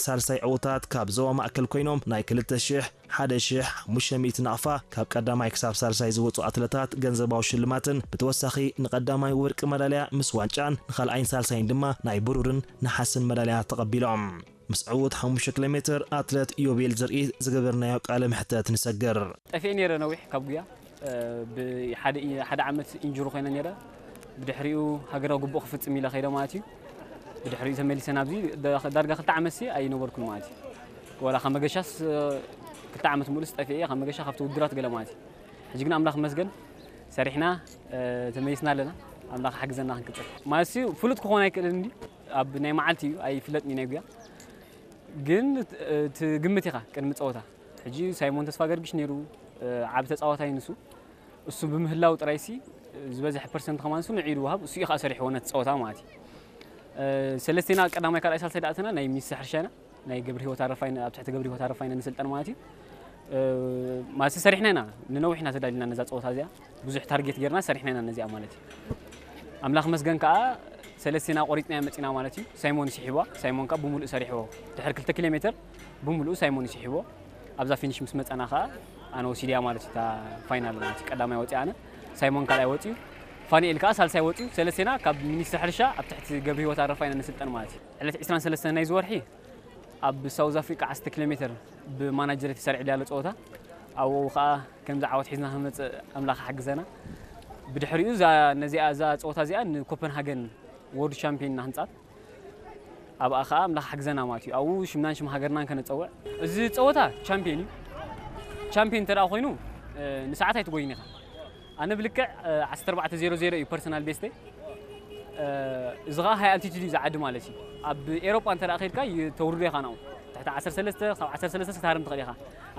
ሳልሳይ ዕውታት ካብ ዞባ ማእከል ኮይኖም ናይ ክልተ ሽሕ፣ ሓደ ሽሕ፣ ሓሙሽተ ሚእቲ ናቕፋ ካብ ቀዳማይ ክሳብ ሳልሳይ ዝወጹ ኣትለታት ገንዘባዊ ሽልማትን ብተወሳኺ ንቐዳማይ ወርቂ መዳልያ ምስ ዋንጫን ንኻልኣይን ሳልሳይን ድማ ናይ ብሩርን ነሓስን መዳልያ ተቐቢሎም። ምስ ዕዉት ሓሙሽተ ኪሎ ሜትር ኣትለት ዮቤል ዘርኢ ዝገበርናዮ ቃለ መሕተት ንሰግር። ጠፊኤ ነይረ ነዊሕ ካብ ጉያ፣ እ፣ ብሓደ ኢ-፣ ሓደ ዓመት ኢንጁሪ ኮይነ ነይረ። ብድሕሪኡ ሃገራዊ ግቡእ ክፍጽም ኢለ ከይደ ማለት እዩ። ብድሕሪኡ ተመሊሰ ናብዚ ደ-፣ ዳርጋ ክልተ ዓመት ሲ ኣይነበርኩን ማለት እዩ። ወላ ካብ መገሻስ፣ እ፣ ክልተ ዓመት ሙሉስ ጠፊኤ እየ፣ ካብ መገሻ ካብቲ ውድራት ገለ ማለት እዩ። ሕጂ ግን ኣምላኽ ይመስገን ሰሪሕና፣ እ፣ ተመሊስና ኣለና። ኣምላኽ ሓግዘና ክንቅጽል። ማለት ሲ ፍሉጥ ክኾን ኣይክእልን እንዲ ኣብ ናይ መዓልቲ እዩ፣ ኣይፍለጥን እዩ ናይ ጉያ። ግን፣ እ፣ ትግምት ኢኻ ቅድሚ ጸወታ። ሕጂ ሳይሞን ተስፋ ገርግሽ ነይሩ፣ እ፣ ዓቢ ተጻዋታይ ንሱ። እሱ ብምህላው ጥራይ ሲ ዝበዝሐ ፐርሰንት ከማን እሱ ንዒዱ ወሃብ፣ እሱ እዩ ከኣ ሰሪሕዎ ነቲ ጸወታ ማለት እዩ። እ፣ ሰለስቴና ቀዳማይ ካልኣይ ሳልሳይ ደኣ ኣተና ናይ ሚኒስትሪ ሕርሻ ኢና፣ ናይ ገብረ ህይወት ኣረፋይነ፣ ኣብ ትሕቲ ገብረ ህይወት ኣረፋይነ ንስልጠን ማለት እዩ። እ፣ ማለት ሰሪሕና ኢና፣ ንነዊሕ ኢና ተዳሊና ነዛ ጸወታ እዚኣ፣ ብዙሕ ታርጌት ጌርና ሰሪሕና ኢና ነዚኣ ማለት እዩ። ኣምላኽ መስገን ከኣ ሰለስቴና ቆሪጽና መጺና ማለት እዩ። ሳይሞን ይስሒብዋ፣ ሳይሞን ከኣ ብምሉእ ሰሪሕዎ። ድሕሪ ክልተ ኪሎ ሜትር ብምሉእ ሳይሞን ይስሒብዎ። ኣብዛ ፊኒሽ ምስ መጸና ከኣ ኣነ ወሲድያ ማለት እዩ፣ እታ ፋይናል ማለት እዩ። ቀዳማይ ወጺኣ ኣነ፣ ሳይሞን ካልኣይ ወጺኡ፣ ፋኒኤል ከኣ ሳልሳይ ወጺኡ። ሰለስቴና ካብ ሚኒስትሪ ሕርሻ ኣብ ትሕቲ ገብረ ህይወት ኣረፋይነ ንስልጠን ማለት እዩ። ዕለት ዕስራን ሰለስተን ናይዚ ወርሒ ኣብ ሳውዝ ኣፍሪቃ ዓሰርተ ኪሎ ሜትር ብማናጀር ተሰሪዑ ያለ ጸወታ፣ ኣብኡ ከኣ ከምዚ ዓወት ሒዝና ክንመጽእ ኣምላኽ ሓግዘና። ብድሕሪኡ እዛ፣ ነዚኣ፣ እዛ ጸወታ እዚኣ ንኮፐንሃገን ወርልድ ቻምፒዮን ኢና ክንጻት። ኣብኣ ከኣ ኣምላኽ ሓግዘና ማለት እዩ። ኣብኡ ሽምናን ሽም ሃገርናን ከነጸውዕ። እዚ ጸወታ ቻምፒዮን እዩ። ቻምፒዮን እንተ ደኣ ኮይኑ፣ እ፣ ንሰዓት ኣይትጎይን ኢኻ። ኣነ ብልክዕ፣ እ፣ ዓሰርተ ኣርባዕተ ዜሮ ዜሮ እዩ ፐርሰናል ቤስተይ። እ፣ እዚ ኸኣ ሃይ ኣልቲቱድ እዩ ዝዓዲ ማለት እዩ። ኣብ ኤሮጳ እንተ ደኣ ከይድካ ይ-፣ ተውርዶ ኢኻ ናብኡ። ትሕቲ ዓሰርተ ሰለስተ፣ ካብ ዓሰርተ ሰለስተ ክትሃርም ትኽእል ኢኻ።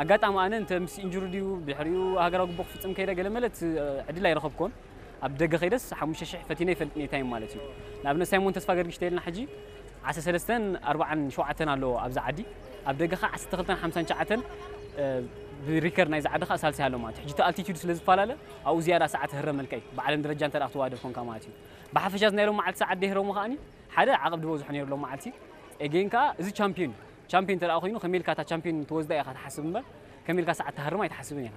ኣጋጣሚ ኣነ እንተ ምስ ኢንጁሪ ድዩ፣ ድሕሪኡ ሃገራዊ ግቡእ ክፍጽም ከይደ ገለ መለ እቲ፣ እ፣ ዕድል ኣይረኸብኩን። ኣብ ደገ ከይደስ ሓሙሽተ ሽሕ ፈቲነ ይፈልጥ እየ ታይም ማለት እዩ። ንኣብነት ሳይሞን ተስፋ ገርግሽ ተይልና ሕጂ ዓሰርተ ሰለስተን ኣርባዓን ሸውዓተን ኣለዎ ኣብዛ ዓዲ። ኣብ ደገ ኸዓ ዓሰርተ ክልተን ሓምሳን ትሽዓተን፣ እ፣ ብሪከርድ ናይዛ ዓዲ ኸዓ ሳልሳይ ኣሎ ማለት እዩ። ሕጂ እቲ ኣልቲቱድ ስለ ዝፈላለ ኣብኡ ዝያዳ ሰዓት ህረመልካ እዩ። ብዓለም ደረጃ እንተ ደኣ ክትወዳደር ኮንካ ማለት እዩ። ብሓፈሻ እዚ ናይ ሎም መዓልቲ ሰዓት ደይህረሙ ከኣኒ ሓደ ዓቐብ ዝበዝሖ ነይሩ ሎም መዓልቲ። ኤጌን ከኣ እዚ ቻምፒዮን እዩ። ቻምፒዮን እንተ ደኣ ኮይኑ ከመይ ኢልካ እታ ቻምፒዮን ትወስዳ ኢኻ ትሓስብ እምበር ከመይ ኢልካ ሰዓት ትሃርም ኣይትሓስብን ኢኻ።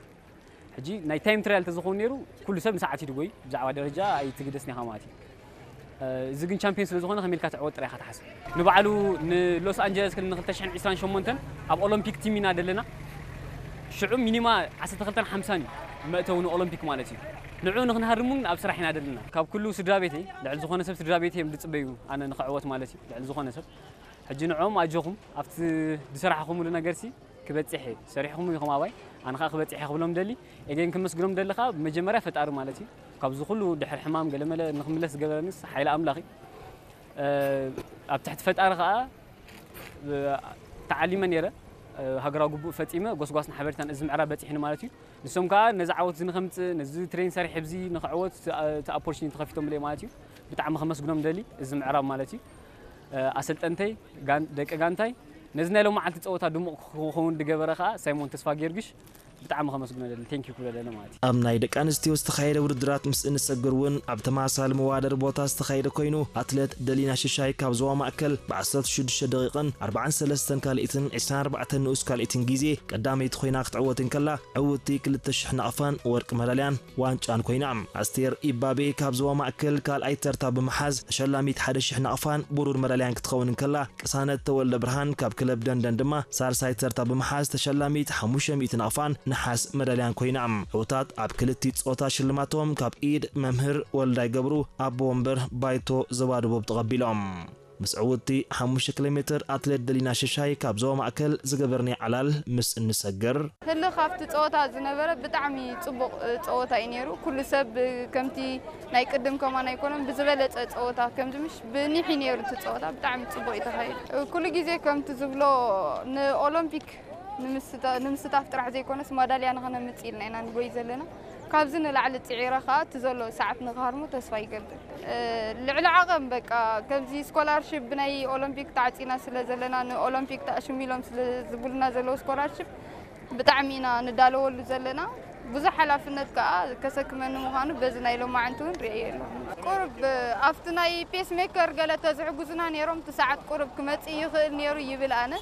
ሕጂ ናይ ታይም ትራያል እንተዝኸውን ነይሩ ኩሉ ሰብ ንሰዓት እዩ ድጎይ፣ ብዛዕባ ደረጃ ኣይትግደስን ኢኻ ማለት እዩ። እ፣ እዚ ግን ቻምፒዮን ስለ ዝኾነ ከመይ ኢልካ ትዕወት ጥራይ ኢኻ ትሓስብ። ንባዕሉ ንሎስ ኣንጀለስ ክል ንክልተ ሽሕን ዕስራን ሸሞንተን ኣብ ኦሎምፒክ ቲም ኢና ደለና። ሽዑ ሚኒማ ዓሰርተ ክልተን ሓምሳን እዩ መእተዊ ንኦሎምፒክ ማለት እዩ። ንዑ ንክንሃርም እውን ኣብ ስራሕ ኢና ደለና። ካብ ኩሉ ስድራ ቤተይ፣ ልዕሊ ዝኾነ ሰብ ስድራ ቤተይ እዮም ዝጽበዩ ኣነ ንክዕወት ማለት እዩ። ልዕሊ ዝኾነ ሰብ። ሕጂ ንዕኦም ኣጆኹም፣ ኣብቲ ዝሰራሕኹምሉ ነገርሲ ክበጽሕ እየ። ሰሪሕኹም ኢኹም ኣባይ፣ ኣነ ኸኣ ክበጽሕ እየ ክብሎም ደሊ። ኤጌን ክመስግኖም ደሊ ኸኣ ብመጀመርያ ፈጣሪ ማለት እዩ። ካብዚ ኩሉ ድሕሪ ሕማም ገለመለ ንክምለስ ዝገበረንስ ሓይሊ ኣምላኽ እዩ። እ፣ ኣብ ትሕቲ ፈጣሪ ኸኣ፣ እ፣ ተዓሊመ ነይረ። እ፣ ሃገራዊ ግቡእ ፈጺመ፣ ጎስጓስን ሓበሬታን እዚ ምዕራብ በጺሕኒ ማለት እዩ። ንሶም ከኣ ነዚ ዓወት እዚ ንኸምጽእ፣ ነዚ ትሬን ሰሪሕ ኣብዚ ንኽዕወት እቲ፣ እቲ ኦፖርቹኒቲ ከፊቶምለይ ማለት እዩ። ብጣዕሚ ከመስግኖም ደሊ፣ እዚ ምዕራብ ማለት እዩ። እ፣ ኣሰልጠንተይ፣ ጋን-፣ ደቂ ጋንታይ፣ ነዚ ናይ ሎመዓልቲ ጸወታ ድሙቕ ክኸውን ዝገበረ ከኣ ሳይሞን ተስፋ ጊዮርጊሽ ብጣዕሚ ከመስግኖ ደሊ፣ ቴንኪዩ ክብሎ ደሊ ማለት እዩ። ኣብ ናይ ደቂ ኣንስትዮ ዝተኻየደ ውድድራት ምስ እንሰግር እውን ኣብ ተመሳሳሊ መዋደር ቦታ ዝተኻየደ ኮይኑ፣ ኣትሌት ደሊና ሽሻይ ካብ ዞባ ማእከል ብ ዓሰርተ ሽዱሽተ ደቂቕን ኣርባዓን ሰለስተን ካልኢትን ዕስራን ኣርባዕተን ንኡስ ካልኢትን ግዜ ቀዳመይቲ ኮይና ክትዕወት እንከላ፣ ዕውትቲ ክልተ ሽሕ ናቕፋን ወርቂ መዳልያን ዋንጫን ኮይና። ኣስቴር ኢባቤ ካብ ዞባ ማእከል ካልኣይ ተርታ ብምሓዝ ተሸላሚት ሓደ ሽሕ ናቕፋን ብሩር መዳልያን ክትኸውን እንከላ፣ ቅሳነት ተወልደ ብርሃን ካብ ክለብ ደንደን ድማ ሳልሳይ ተርታ ብምሓዝ ተሸላሚት ሓሙሽተ ሚእቲ ናቕፋን ነሓስ መዳልያን ኮይና። ዕውታት ኣብ ክልቲ ጾታ ሽልማቶም ካብ ኢድ መምህር ወልዳይ ገብሩ፣ ኣቦ ወንበር ባይቶ ዞባ ደቡብ ተቐቢሎም። ምስ ዕውትቲ ሓሙሽተ ኪሎ ሜትር ኣትሌት ደሊና ሽሻይ ካብ ዞባ ማእከል ዝገበርናዮ ዕላል ምስ እንሰግር፣ ህልኽ ኣብቲ ጸወታ ዝነበረ ብጣዕሚ ጽቡቕ፣ እ፣ ጸወታ እዩ ነይሩ። ኩሉ ሰብ፣ እ፣ ከምቲ ናይ ቅድም ከማን ኣይኮነን፣ ብዝበለጸ ጸወታ ከምዚ ምሽ ብኒሕ እዩ ነይሩ እቲ ጸወታ፣ ብጣዕሚ ጽቡቕ እዩ ተኻይዱ። እ፣ ኩሉ ግዜ ከምቲ ዝብሎ ንኦሎምፒክ ንምስታ-፣ ንምስታፍ ጥራሕ ዘይኮነስ ማዳልያ ንኸነምጽእ ኢልና ኢና ንጎይ ዘለና። ካብዚ ንላዕሊ ጽዒረ ኸኣ እቲ ዘሎ ሰዓት ንኽሃርሞ ተስፋ ይገብር። እ፣ ልዕሊ ዓቐን በቃ ከምዚ ስኮላርሺፕ ብናይ ኦሎምፒክ ተዓጺና ስለ ዘለና ንኦሎምፒክ ተኣሽሙ ኢሎም ስለ ዝብሉና ዘለዉ ስኮላርሺፕ ብጣዕሚ ኢና ንዳለወሉ ዘለና። ብዙሕ ሓላፍነት ከኣ ከሰክመኒ ምዃኑ በዚ ናይ ሎማዓንቲ እውን ርእየ ኣለኹ። ቁሩብ ኣብቲ ናይ ፔስ ሜከር ገለ ተዝሕጉዙና ነይሮም፣ እቲ ሰዓት ቁሩብ ክመጽእ ይኽእል ነይሩ ይብል ኣነ።